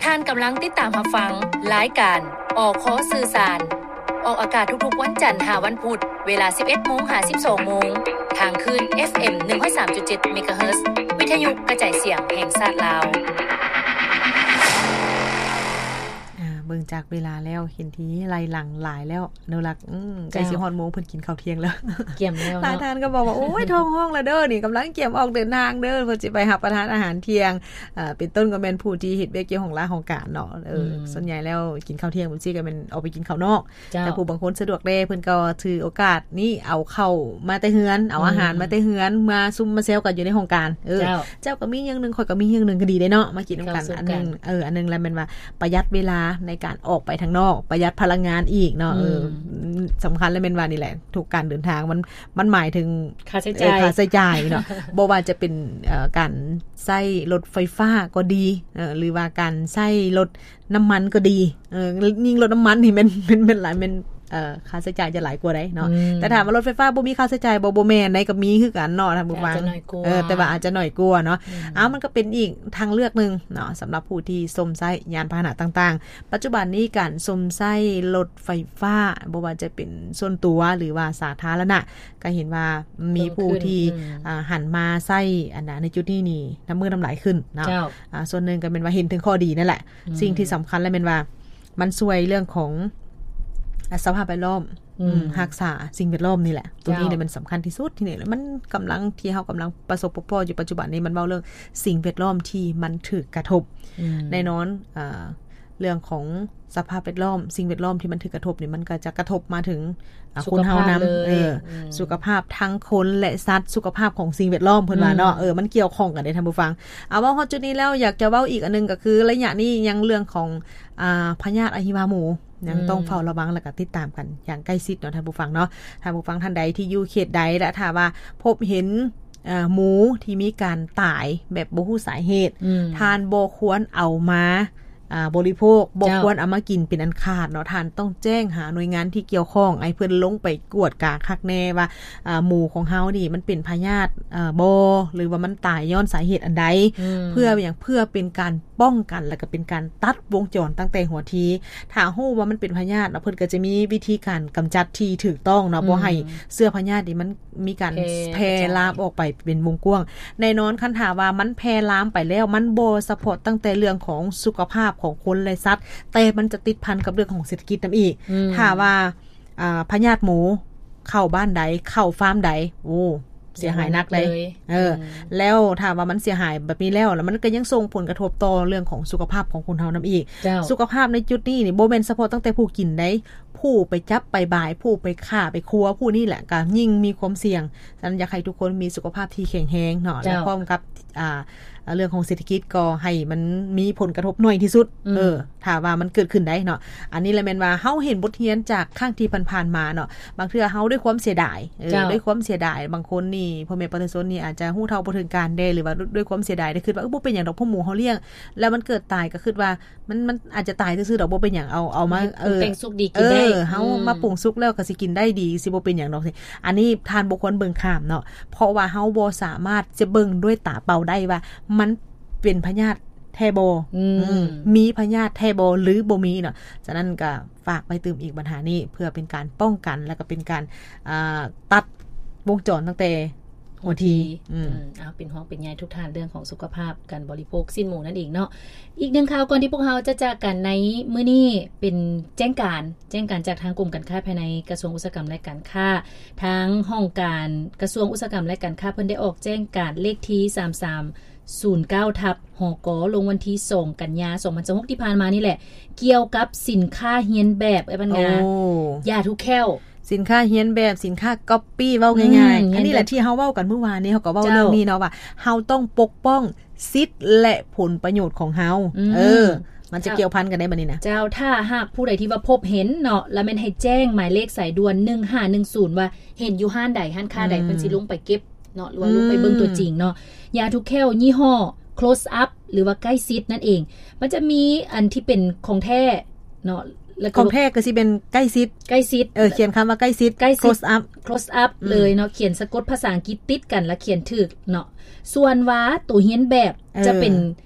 ທ່ານກຳລັງຕິດຕາມຮັບຟັງລາຍການ ອຄ ສື່ສານ, ອອກອາກາດທຸກໆວັນຈັນຫາວັນພຸດ ເວລາສິບເອັດໂມງຫາສິບສອງໂມງ ທາງຄື້ນ ເອັຟເອັມ ໜຶ່ງຮ້ອຍສາມຈຸດເຈັດ ເມກາເຮີດ ວິທະຍຸກະຈາຍສຽງແຫ່ງຊາດລາວ. ອ່າ ເບິ່ງຈາກເວລາແລ້ວ ເຫັນທີ່ໄລ່ຫຼັງຫຼາຍແລ້ວ ອະນຸລັກ. ອືມ ໃກ້ ເຈົ້າ ຊິຮອດໂມງເພິ່ນກິນເຂົ້າທ່ຽງແລ້ວ. ກຽມແລ້ວເນາະ. ຫຼາຍທ່ານກໍບອກວ່າ ໂອ້ຍ ທ້ອງຮ້ອງແລ້ວເດີ ນີ້ກຳລັງກຽມອອກເດີນທາງເດີ ເພິ່ນຊິໄປຮັບປະທານອາຫານທ່ຽງ. ເອີ ເປັນຕົ້ນກໍແມ່ນຜູ້ທີ່ເຮັດວຽກກ່ຽວຂ້ອງລາວຫ້ອງການເນາະ. ເອີ ອືມ ສ່ວນໃຫຍ່ແລ້ວກິນເຂົ້າທ່ຽງຈັ່ງຊີ້ກໍແມ່ນອອກໄປກິນເຂົ້ານອກ. ເຈົ້າ. ແຕ່ຜູ້ບາງຄົນສະດວກແດ່ ເພິ່ນກໍຖືໂອກາດນີ້ເອົາເຂົ້າມາແຕ່ເຮືອນ ເອົາອາຫານ ອືມ ມາແຕ່ເຮືອນ ມາຊຸມມາແຊວກັນຢູ່ໃນຫ້ອງການ. ເອີ ເຈົ້າ. ເຈົ້າກໍມີຢ່າງໜຶ່ງ ຂ້ອຍກໍມີຢ່າງໜຶ່ງ ກໍດີເດ້ເນາະ ມາກິນນຳກັນ ກິນເຂົ້າຊຸມກັນ ອັນໜຶ່ງ. ເອີ ອັນໜຶ່ງລະແມ່ນວ່າປະຢັດເວລາໃນການອອກໄປທາງນອກ ປະຢັດພະລັງງານອີກເນາະ. ອືມ ເອີ ສຳຄັນລະແມ່ນວ່ານີ້ແຫຼະ ທຸກການເດີນທາງມັນ ມັນໝາຍເຖິງຄ່າໃຊ້ຈ່າຍ ເອີ ຄ່າໃຊ້ຈ່າຍເນາະ. ບໍ່ວ່າຈະເປັນ ເອີ ການໃຊ້ລົດໄຟຟ້າກໍດີ ເອີ ຫຼືວ່າການໃຊ້ລົດນ້ຳມັນກໍດີ ເອີ ຍິ່ງລົດນ້ຳມັນນີ້ແມ່ນ ແມ່ນ ແມ່ນຫຼາຍ ແມ່ນ ເອີ ຄ່າໃຊ້ຈ່າຍຈະຫຼາຍກວ່າໃດເນາະ. ອືມ ແຕ່ຖາມວ່າລົດໄຟຟ້າບໍ່ມີຄ່າໃຊ້ຈ່າຍບໍ່? ບໍ່ແມ່ນໃດ ກໍມີຄືກັນເນາະທ່ານຜູ້ຟັງ. ອາດຈະໜ້ອຍກວ່າ. ເອີ ແຕ່ວ່າອາດຈະໜ້ອຍກວ່າເນາະ. ອືມ ເອົາ ມັນກໍເປັນອີກທາງເລືອກໜຶ່ງເນາະ ສຳລັບຜູ້ທີ່ຊົມໃຊ້ຍານພາຫະນະຕ່າງໆ. ປັດຈຸບັນນີ້ການຊົມໃຊ້ລົດໄຟຟ້າ ບໍ່ວ່າຈະເປັນສ່ວນຕົວ ຫຼືວ່າສາທາລະນະ ກໍເຫັນວ່າມີຜູ້ທີ່ ເພີ່ມຂຶ້ນ ອືມ ອ່າ ຫັນມາໃຊ້ອັນນະ ໃນຈຸດນີ້ນີ້ ນຳມື້ນຳຫຼາຍຂຶ້ນເນາະ. ເຈົ້າ. ອ່າ ສ່ວນໜຶ່ງກໍແມ່ນວ່າເຫັນເຖິງຂໍ້ດີນັ້ນແຫຼະ. ອືມ ສິ່ງທີ່ສຳຄັນລະແມ່ນວ່າ ມັນຊ່ວຍເລື່ອງຂອງ ອາ ສະພາບແວດລ້ອມ ອືມ ອືມ ຮັກສາສິ່ງແວດລ້ອມນີ້ແຫຼະ. ໂຕນີ້ ເຈົ້າ ແຫຼະມັນສຳຄັນທີ່ສຸດ. ທີ່ນີ້ແຫຼະມັນກຳລັງ ທີ່ເຮົາກຳລັງປະສົບພົບພໍ້ຢູ່ປັດຈຸບັນນີ້ ມັນເວົ້າເລື່ອງສິ່ງແວດລ້ອມທີ່ມັນຖືກກະທົບ. ອືມ ແນ່ນອນ ເອີ ເລື່ອງຂອງສະພາບແວດລ້ອມ ສິ່ງແວດລ້ອມທີ່ມັນຖືກກະທົບນີ້ ມັນກໍຈະກະທົບມາເຖິງ ອ່າ ສຸຂະພາບຄົນເຮົານຳ ເລີຍ. ເອີ ອືມ ສຸຂະພາບທັງຄົນ ແລະ ສັດ ສຸຂະພາບຂອງສິ່ງແວດລ້ອມ ເພິ່ນວ່າເນາະ. ອືມ ເອີ ມັນກ່ຽວຂ້ອງກັນເດ້ທ່ານຜູ້ຟັງ. ເອົາ ເວົ້າຮອດຈຸດນີ້ແລ້ວ ຢາກຈະເວົ້າອີກອັນໜຶ່ງ ກໍຄືໄລຍະນີ້ຍັງເລື່ອງຂອງ ອ່າ ພະຍາດອະຫິວາໝູ ຍັງ ອືມ ຕ້ອງເຝົ້າລະວັງ ແລະ ກໍຕິດຕາມກັນຢ່າງໃກ້ຊິດເນາະທ່ານຜູ້ຟັງເນາະ. ທ່ານຜູ້ຟັງທ່ານໃດທີ່ຢູ່ເຂດໃດ ແລະ ຖ້າວ່າພົບເຫັນ ເອີ ໝູທີ່ມີການຕາຍແບບບໍ່ຮູ້ສາເຫດ ອືມ ທ່ານບໍ່ຄວນເອົາມາ ອ່າ ບໍລິໂພກ ບໍ່ ເຈົ້າ ຄວນເອົາມາກິນເປັນອັນຂາດເນາະ. ທ່ານຕ້ອງແຈ້ງຫາໜ່ວຍງານທີ່ກ່ຽວຂ້ອງ ໃຫ້ເພິ່ນລົງໄປກວດກາຄັກແນ່ວ່າ ອ່າ ໝູຂອງເຮົານີ້ມັນເປັນພະຍາດ ເອີ ບໍ່ ຫຼືວ່າມັນຕາຍຍ້ອນສາເຫດອັນໃດ. ອືມ ເພື່ອຫຍັງ? ເພື່ອເປັນການປ້ອງກັນ ແລະ ກໍເປັນການຕັດວົງຈອນຕັ້ງແຕ່ຫົວທີ. ຖ້າຮູ້ວ່າມັນເປັນພະຍາດເນາະ ເພິ່ນກໍຈະມີວິທີການກຳຈັດທີ່ຖືກຕ້ອງເນາະ ອືມ ບໍ່ໃຫ້ເຊື້ອພະຍາດນີ້ມັນ ມີການແຜ່ ແຜ່ລາມອອກໄປເປັນວົງກວ້າງ. ແນ່ນອນ ຄັນຖ້າວ່າມັນແຜ່ລາມໄປແລ້ວ ມັນບໍ່ສະເພາະຕັ້ງແຕ່ເລື່ອງຂອງສຸຂະພາບຂອງຄົນ ແລະ ສັດ ແຕ່ມັນຈະຕິດພັນກັບເລື່ອງຂອງເສດຖະກິດນຳອີກ. ອືມ ຖ້າວ່າ ອ່າ ພະຍາດໝູເຂົ້າບ້ານໃດ ເຂົ້າຟາມໃດ ໂອ້ ເສຍຫາຍໜັກເລີຍ. ເອີ ອືມ ແລ້ວຖ້າວ່າມັນເສຍຫາຍແບບນີ້ແລ້ວ ແລ້ວມັນກໍຍັງສົ່ງຜົນກະທົບຕໍ່ເລື່ອງຂອງສຸຂະພາບຂອງຄົນເຮົານຳອີກ. ເຈົ້າ ສຸຂະພາບໃນຈຸດນີ້ນີ້ ບໍ່ແມ່ນສະເພາະຕັ້ງແຕ່ຜູ້ກິນໃດ ຜູ້ໄປຈັບໄປບາຍ ຜູ້ໄປຂ້າໄປຄົວ ຜູ້ນີ້ແຫຼະກໍຍິ່ງມີຄວາມສ່ຽງ. ສະນັ້ນ ຢາກໃຫ້ທຸກຄົນມີສຸຂະພາບທີ່ແຂງແຮງເນາະ ເຈົ້າ ແລະ ພ້ອມກັບ ອ່າ ເລື່ອງຂອງເສດຖະກິດກໍໃຫ້ມັນມີຜົນກະທົບໜ້ອຍທີ່ສຸດ. ອືມ ເອີ ຖ້າວ່າມັນເກີດຂຶ້ນໄດ້ເນາະ. ອັນນີ້ລະແມ່ນວ່າເຮົາເຫັນບົດຮຽນຈາກຄັ້ງທີ່ຜ່ານໆມາເນາະ. ບາງເທື່ອເຮົາດ້ວຍຄວາມເສຍດາຍ ເອີ ເຈົ້າ ດ້ວຍຄວາມເສຍດາຍ ບາງຄົນນີ້ ພໍ່ແມ່ປະຊາຊົນນີ້ອາດຈະຮູ້ເທົ່າບໍ່ເຖິງການແດ່ ຫຼືວ່າດ້ວຍຄວາມເສຍດາຍ ໄດ້ຄິດວ່າ ເອີ ບໍ່ເປັນຫຍັງດອກ ພວກໝູເຮົາລ້ຽງ ແລ້ວມັນເກີດຕາຍ ກໍຄິດວ່າ ມັນ ມັນອາດຈະຕາຍຊື່ໆດອກ ບໍ່ເປັນຫຍັງ ເອົາ ເອົາມາ ເຮັດປຸງແຕ່ງ ເອີ ສຸກດີກິນໄດ້ ເອີ ເຮົາ ອືມ ມາປຸງສຸກແລ້ວກໍຊິກິນໄດ້ດີ ຊິບໍ່ເປັນຫຍັງດອກ. ອັນນີ້ທ່ານບໍ່ຄວນເບິ່ງຂ້າມເນາະ ເພາະວ່າເຮົາບໍ່ສາມາດຈະເບິ່ງດ້ວຍຕາເປົ່າໄດ້ວ່າມັນເປັນພະຍາດແທ້ບໍ່ ອືມ ອືມ ມີພະຍາດແທ້ບໍ່ ຫຼື ບໍ່ມີເນາະ. ສະນັ້ນກໍຝາກໄວ້ຕື່ມອີກບັນຫານີ້ ເພື່ອເປັນການປ້ອງກັນ ແລ້ວກໍເປັນການ ອ່າ ຕັດວົງຈອນຕັ້ງແຕ່ ຫົວທີ ອືມ ອືມ ເອົາ ເປັນຫ່ວງເປັນໃຍທຸກທ່ານເລື່ອງຂອງສຸຂະພາບການບໍລິໂພກຊີ້ນໝູນັ້ນເອງເນາະ. ອີກໜຶ່ງຂ່າວກ່ອນທີ່ພວກເຮົາຈະຈາກກັນໃນມື້ນີ້ ເປັນແຈ້ງການ ແຈ້ງການຈາກທາງກົມການຄ້າພາຍໃນ ກະຊວງອຸດສາຫະກຳ ແລະ ການຄ້າ. ທາງຫ້ອງການກະຊວງອຸດສາຫະກຳ ແລະ ການຄ້າ ເພິ່ນໄດ້ອອກແຈ້ງການເລກທີສາມສາມສູນເກົ້າ ທັບ ຫກ ລົງວັນທີສອງ ກັນຍາ ສອງພັນຊາວຫົກ ທີ່ຜ່ານມານີ້ແຫຼະ ກ່ຽວກັບສິນຄ້າຮຽນແບບ ເອີຍ ບັນງາ ໂອ້ ຢາຖູແຂ້ວ ສິນຄ້າຮຽນແບບ ສິນຄ້າກັອບປີ້ ເວົ້າງ່າຍໆ ອືມ ອັນນີ້ແຫຼະທີ່ເຮົາເວົ້າກັນມື້ວານນີ້ ເຮົາກໍເວົ້າ ເຈົ້າ ເລື່ອງນີ້ເນາະ ວ່າເຮົາຕ້ອງປົກປ້ອງສິດ ແລະ ຜົນປະໂຫຍດຂອງເຮົາ ອືມ ເອີ ມັນຈະ ເຈົ້າ ກ່ຽວພັນກັນໄດ້ບັດນີ້ນະ. ເຈົ້າ ຖ້າຫາກຜູ້ໃດທີ່ວ່າພົບເຫັນເນາະ ລະແມ່ນໃຫ້ແຈ້ງໝາຍເລກສາຍດ່ວນ ໜຶ່ງຫ້າໜຶ່ງສູນ ວ່າເຫັນຢູ່ຮ້ານໃດ ຮ້ານຄ້າໃດ ອືມ ເພິ່ນຊິລົງໄປເກັບເນາະ ຫຼືວ່າ ອືມ ລົງໄປເບິ່ງຕົວຈິງເນາະ. ຢາຖູແຂ້ວຍີ່ຫໍ້ Close Up ຫຼືວ່າໃກ້ຊິດນັ້ນເອງ ມັນຈະມີອັນທີ່ເປັນຂອງແທ້ເນາະ ແລ້ວກໍ ຂອງແທ້ກໍຊິເປັນໃກ້ຊິດ ໃກ້ຊິດ ເອີ ຂຽນຄຳວ່າໃກ້ຊິດ ໃກ້ຊິດ Close Up Close Up ອືມ ເລີຍເນາະ ຂຽນສະກົດພາສາອັງກິດຕິດກັນ ແລ້ວຂຽນຖືກເນາະ. ສ່ວນວ່າໂຕຮຽນແບບ ເອີ ຈະເປັນ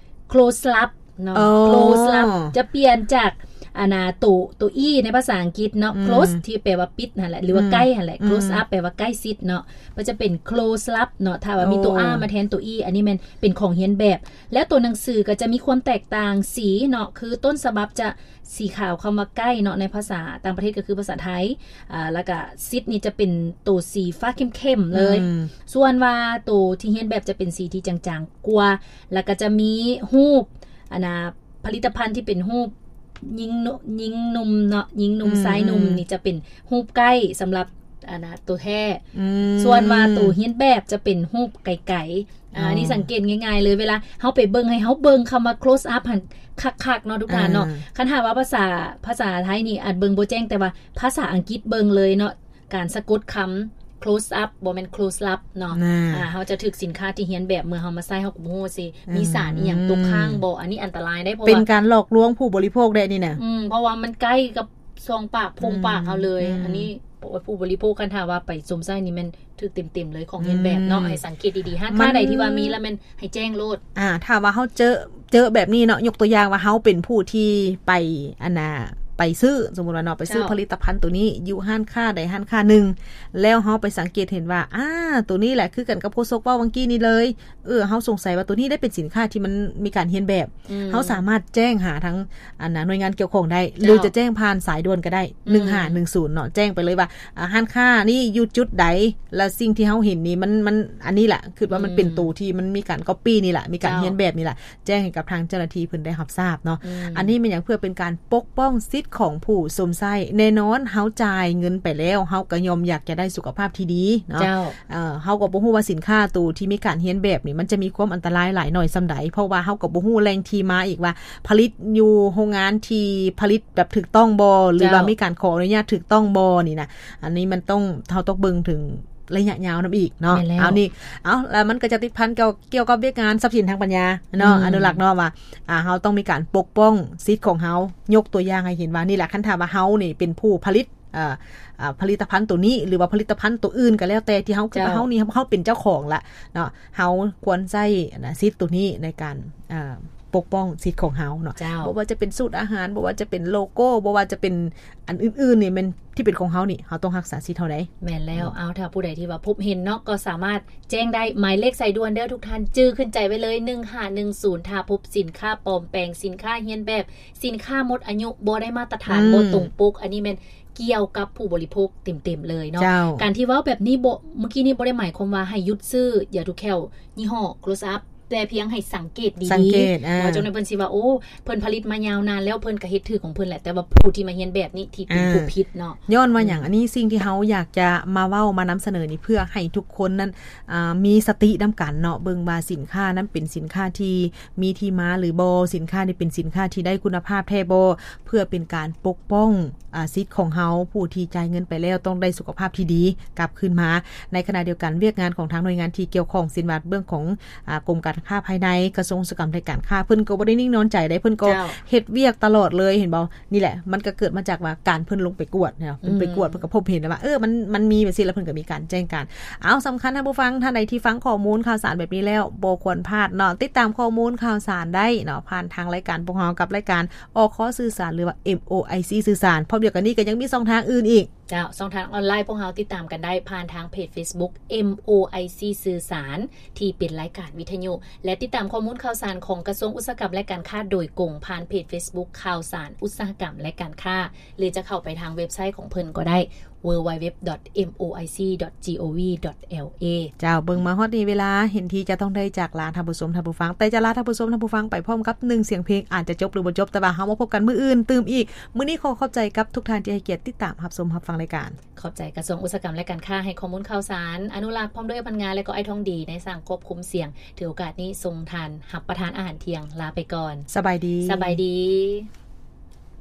Close Up ເນາະ ໂອ້ close up ຈະປ່ຽນຈາກ ອັນນ່າ ໂຕ ໂຕ e ໃນພາສາອັງກິດເນາະ ອືມ close ທີ່ແປວ່າປິດຫັ້ນແຫຼະ ຫຼືວ່າ ອືມ ໃກ້ຫັ້ນແຫຼະ ອືມ close up ແປວ່າໃກ້ຊິດເນາະ ມັນຈະເປັນ close up ເນາະ ຖ້າວ່າມີໂຕ ໂອ້ r ມາແທນໂຕ e ອັນນີ້ແມ່ນເປັນຂອງຮຽນແບບ ແລ້ວໂຕໜັງສືກໍຈະມີຄວາມແຕກຕ່າງສີເນາະ ຄືຕົ້ນສະບັບຈະສີຂາວ ຄຳວ່າໃກ້ເນາະ ໃນພາສາຕ່າງປະເທດກໍຄືພາສາໄທ ອ່າ ແລ້ວກໍຊິດນີ້ຈະເປັນໂຕສີຟ້າເຂັ້ມໆເລີຍ ອືມ ສ່ວນວ່າໂຕທີ່ຮຽນແບບຈະເປັນສີທີ່ຈາງໆກວ່າ ແລ້ວກໍຈະມີຮູບ ອັນນ່າ ຜະລິດຕະພັນທີ່ເປັນຮູບຍິງ ຍິງໜຸ່ມເນາະ ຍິງໜຸ່ມ ອືມ ຊາຍໜຸ່ມ ອືມ ນີ້ຈະເປັນຮູບໃກ້ສຳລັບ ອັນນ່າ ໂຕແທ້ ອືມ ສ່ວນວ່າໂຕຮຽນແບບຈະເປັນຮູບໄກໆ ອ່າ ອໍ ອັນນີ້ສັງເກດງ່າຍໆເລີຍ ເວລາເຮົາໄປເບິ່ງ ໃຫ້ເຮົາເບິ່ງຄຳວ່າ close up ຫັ້ນຄັກໆເນາະ ທຸກທ່ານເນາະ ອ່າ ຄັນຫາກວ່າພາສາ ພາສາໄທນີ້ອາດເບິ່ງບໍ່ແຈ້ງ ແຕ່ວ່າພາສາອັງກິດເບິ່ງເລີຍເນາະ ການສະກົດຄຳ close up ບໍ່ແມ່ນ close up ເນາະ ອ່າ ເຮົາຈະຖືກສິນຄ້າທີ່ຮຽນແບບ ເມື່ອເຮົາມາໃຊ້ ເຮົາກໍບໍ່ຮູ້ວ່າຊິມີສານອີ່ຫຍັງຕົກຄ້າງບໍ່ ອືມ ອັນນີ້ອັນຕະລາຍເດ້ ເພາະວ່າເປັນການຫຼອກລວງຜູ້ບໍລິໂພກເດ້ນີ້ນະ ອືມ ເພາະວ່າມັນໃກ້ກັບຊ່ອງປາກໂພງປາກເຮົາເລີຍ ອືມ ອັນນີ້ຜູ້ບໍລິໂພກ ຄັນຖ້າວ່າໄປຊົມໃຊ້ນີ້ແມ່ນຖືກເຕັມໆເລີຍ ຂອງຮຽນແບບເນາະ ອືມ ໃຫ້ສັງເກດດີໆ ຮ້ານຄ້າໃດທີ່ວ່າມີລະແມ່ນໃຫ້ແຈ້ງໂລດ ອ່າ ຖ້າວ່າເຮົາເຈີ ເຈີແບບນີ້ເນາະ ຍົກຕົວຢ່າງວ່າເຮົາເປັນຜູ້ທີ່ໄປ ອັນນ່າ ໄປຊື້ ສົມມຸດວ່າເນາະ ໄປຊື້ ເຈົ້າ ຜະລິດຕະພັນໂຕນີ້ຢູ່ຮ້ານຄ້າໃດຮ້ານຄ້າໜຶ່ງ ແລ້ວເຮົາໄປສັງເກດເຫັນວ່າ ອ່າ ໂຕນີ້ແຫຼະຄືກັນກັບໂຄສົກເວົ້າຫວ່າງກີ້ນີ້ເລີຍ ເອີ ເຮົາສົງໄສວ່າໂຕນີ້ໄດ້ເປັນສິນຄ້າທີ່ມັນມີການຮຽນແບບ ອືມ ເຮົາສາມາດແຈ້ງຫາທາງ ອັນນ່າ ໜ່ວຍງານກ່ຽວຂ້ອງໄດ້ ເຈົ້າ ຫຼືຈະແຈ້ງຜ່ານສາຍດ່ວນກໍໄດ້ ອືມ ໜຶ່ງຫ້າໜຶ່ງສູນເນາະ ແຈ້ງໄປເລີຍວ່າ ອ່າ ຮ້ານຄ້ານີ້ຢູ່ຈຸດໃດ ແລະສິ່ງທີ່ເຮົາເຫັນນີ້ມັນ ມັນ ອັນນີ້ລະ ຄິດວ່າມັນເປັນ ອືມ ໂຕທີ່ມັນມີການ copy ນີ້ລະ ມີການ ເຈົ້າ ຮຽນແບບນີ້ລະ ແຈ້ງໃຫ້ກັບທາງເຈົ້າໜ້າທີ່ເພິ່ນໄດ້ຮັບຊາບເນາະ ອືມ ອັນນີ້ແມ່ນຫຍັງ ເພື່ອເປັນການປົກປ້ອງສິດຂອງຜູ້ຊົມໃຊ້ ແນ່ນອນເຮົາຈ່າຍເງິນໄປແລ້ວ ເຮົາກໍຍ່ອມຢາກຈະໄດ້ສຸຂະພາບທີ່ດີເນາະ ເຈົ້າ ເອີ ເຮົາກໍບໍ່ຮູ້ວ່າສິນຄ້າໂຕທີ່ມີການຮຽນແບບນີ້ ມັນຈະມີຄວາມອັນຕະລາຍຫຼາຍໜ້ອຍສ່ຳໃດ ເພາະວ່າເຮົາກໍບໍ່ຮູ້ແຫຼ່ງທີ່ມາອີກວ່າ ຜະລິດຢູ່ໂຮງງານທີ່ຜະລິດແບບຖືກຕ້ອງບໍ່ ຫຼືວ່າ ເຈົ້າ ມີການຂໍອະນຸຍາດຖືກຕ້ອງບໍ່ນີ້ນະ ອັນນີ້ມັນຕ້ອງ ເຮົາຕ້ອງເບິ່ງເຖິງໄລຍະຍາວນຳອີກເນາະ ແມ່ນແລ້ວ ເອົານີ້ ເອົາ ແລ້ວມັນກໍຈະຕິດພັນກ່ຽວ ກ່ຽວກັບວຽກງານຊັບສິນທາງປັນຍາເນາະ ອືມ ອະນຸລັກເນາະ ວ່າ ອ່າ ເຮົາຕ້ອງມີການປົກປ້ອງສິດຂອງເຮົາ ຍົກຕົວຢ່າງໃຫ້ເຫັນວ່າ ນີ້ແຫຼະ ຄັນຖ້າວ່າເຮົານີ້ເປັນຜູ້ຜະລິດ ເອີ ອາ ຜະລິດຕະພັນໂຕນີ້ ຫຼືວ່າຜະລິດຕະພັນໂຕອື່ນກໍແລ້ວແຕ່ ທີ່ເຮົາ ເຈົ້າ ເຮົານີ້ ເຮົາເປັນເຈົ້າຂອງລະເນາະ ເຮົາຄວນໃຊ້ ອັນນ່າ ສິດໂຕນີ້ໃນການ ເອີ ປົກປ້ອງສິດຂອງເຮົາເນາະ ເຈົ້າ ບໍ່ວ່າຈະເປັນສູດອາຫານ ບໍ່ວ່າຈະເປັນໂລໂກ້ ບໍ່ວ່າຈະເປັນອັນອື່ນໆນີ້ ແມ່ນທີ່ເປັນຂອງເຮົານີ້ ເຮົາຕ້ອງຮັກສາສິດເຮົາໄດ໋. ແມ່ນແລ້ວ ເອົາ ຖ້າຜູ້ໃດທີ່ວ່າພົບເຫັນເນາະ ກໍສາມາດແຈ້ງໄດ້ ໝາຍເລກສາຍດ່ວນເດີ ທຸກທ່ານຈື່ຂຶ້ນໃຈໄວ້ເລີຍ ໜຶ່ງຫ້າໜຶ່ງສູນ ຖ້າພົບສິນຄ້າປອມແປງ ສິນຄ້າຮຽນແບບ ສິນຄ້າໝົດອາຍຸ ບໍ່ໄດ້ມາດຕະຖານ ອືມ ບໍ່ຕົງປົກ ອັນນີ້ແມ່ນກ່ຽວກັບຜູ້ບໍລິໂພກເຕັມໆເລີຍເນາະ ເຈົ້າ ການທີ່ເວົ້າແບບນີ້ບໍ່ ເມື່ອກີ້ນີ້ບໍ່ໄດ້ໝາຍຄວາມວ່າໃຫ້ຢຸດຊື້ຢາຖູແຂ້ວຍີ່ຫໍ້ Close Up ແຕ່ພຽງໃຫ້ສັງເກດດີໆ ສັງເກດ ອ່າ ວ່າຈັ່ງໃດເພິ່ນຊິວ່າ ໂອ້ ເພິ່ນຜະລິດມາຍາວນານແລ້ວ ເພິ່ນກໍເຮັດຖືກຂອງເພິ່ນແຫຼະ ແຕ່ວ່າຜູ້ທີ່ມາຮຽນແບບນີ້ທີ່ເປັນ ອ່າ ຜູ້ຜິດເນາະ. ຍ້ອນວ່າຫຍັງ ອືມ ອັນນີ້ສິ່ງທີ່ເຮົາຢາກຈະມາເວົ້າມານຳສະເໜີນີ້ ເພື່ອໃຫ້ທຸກຄົນນັ້ນ ອ່າ ມີສະຕິນຳກັນເນາະ ເບິ່ງວ່າສິນຄ້ານັ້ນເປັນສິນຄ້າທີ່ມີທີ່ມາຫຼືບໍ່ ສິນຄ້ານີ້ເປັນສິນຄ້າທີ່ໄດ້ຄຸນນະພາບແທ້ບໍ່ ເພື່ອເປັນການປົກປ້ອງ ອາ ສິດຂອງເຮົາ ຜູ້ທີ່ຈ່າຍເງິນໄປແລ້ວຕ້ອງໄດ້ສຸຂະພາບທີ່ດີກັບຄືນມາ. ໃນຂະນະດຽວກັນ ວຽກງານຂອງທາງໜ່ວຍງານທີ່ກ່ຽວຂ້ອງ ເຊັ່ນວ່າເລື່ອງຂອງ ອາ ກົມການຄ້າພາຍໃນ ກະຊວງອຸດສາຫະກຳ ແລະ ການຄ້າ ເພິ່ນກໍບໍ່ໄດ້ນິ່ງນອນໃຈເດ້ ເພິ່ນກໍ ເຈົ້າ ເຮັດວຽກຕະຫຼອດເລີຍ ເຫັນບໍ່? ນີ້ແຫຼະ ມັນກໍເກີດມາຈາກວ່າການເພິ່ນລົງໄປກວດເນາະ ເພິ່ນໄປກວດ ອືມ ເພິ່ນກໍພົບເຫັນແລ້ວວ່າ ເອີ ມັນ ມັນມີແບບຊີ້ ແລ້ວເພິ່ນກໍມີການແຈ້ງການ. ເອົາ ສຳຄັນທ່ານຜູ້ຟັງ ທ່ານໃດທີ່ຟັງຂໍ້ມູນຂ່າວສານແບບນີ້ແລ້ວ ບໍ່ຄວນພາດເນາະ ຕິດຕາມຂໍ້ມູນຂ່າວສານໄດ້ເນາະ ຜ່ານທາງລາຍການພວກເຮົາກັບລາຍການ ອຄ ສື່ສານ ຫຼືວ່າ ເອັມ ໂອ ໄອ ຊີ ສື່ສານ. ພ້ອມດຽວກັນນີ້ກໍຍັງມີຊ່ອງທາງອື່ນອີກ. ເຈົ້າ ຊ່ອງທາງອອນລາຍພວກເຮົາຕິດຕາມກັນໄດ້ຜ່ານທາງເພຈ Facebook ເອັມ ໂອ ໄອ ຊີ ສື່ສານ ທີ່ເປັນລາຍການວິທະຍຸ ແລະ ຕິດຕາມຂໍ້ມູນຂ່າວສານຂອງກະຊວງອຸດສາຫະກຳ ແລະ ການຄ້າໂດຍກົງ ຜ່ານເພຈ Facebook ຂ່າວສານອຸດສາຫະກຳ ແລະ ການຄ້າ ຫຼື ຈະເຂົ້າໄປທາງເວັບໄຊຂອງເພິ່ນກໍໄດ້ www.moic.gov.la. ເຈົ້າ ເບິ່ງມາຮອດນີ້ເວລາເຫັນທີ່ຈະຕ້ອງໄດ້ຈາກລາທ່ານຜູ້ຊົມທ່ານຜູ້ຟັງ ແຕ່ຈະລາທ່ານຜູ້ຊົມທ່ານຜູ້ຟັງໄປພ້ອມກັບໜຶ່ງສຽງເພງ ອາດຈະຈົບຫຼືບໍ່ຈົບ ແຕ່ວ່າເຮົາມາພົບກັນມື້ອື່ນຕື່ມອີກ. ມື້ນີ້ຂໍຂອບໃຈກັບທຸກທ່ານທີ່ໃຫ້ກຽດຕິດຕາມຮັບຊົມຮັບຟັງລາຍການ. ຂອບໃຈກະຊວງອຸດສາຫະກຳ ແລະ ການຄ້າ ໃຫ້ຂໍ້ມູນຂ່າວສານ. ອະນຸລັກ ພ້ອມດ້ວຍພະນັກງານ ແລະ ກໍອ້າຍທອງດີ ໃນສາງຄວບຄຸມສຽງ ຖືໂອກາດນີ້ສົ່ງທ່ານຮັບປະທານອາຫານທ່ຽງ ລາໄປກ່ອນ. ສະບາຍດີ. ສະບາຍດີ.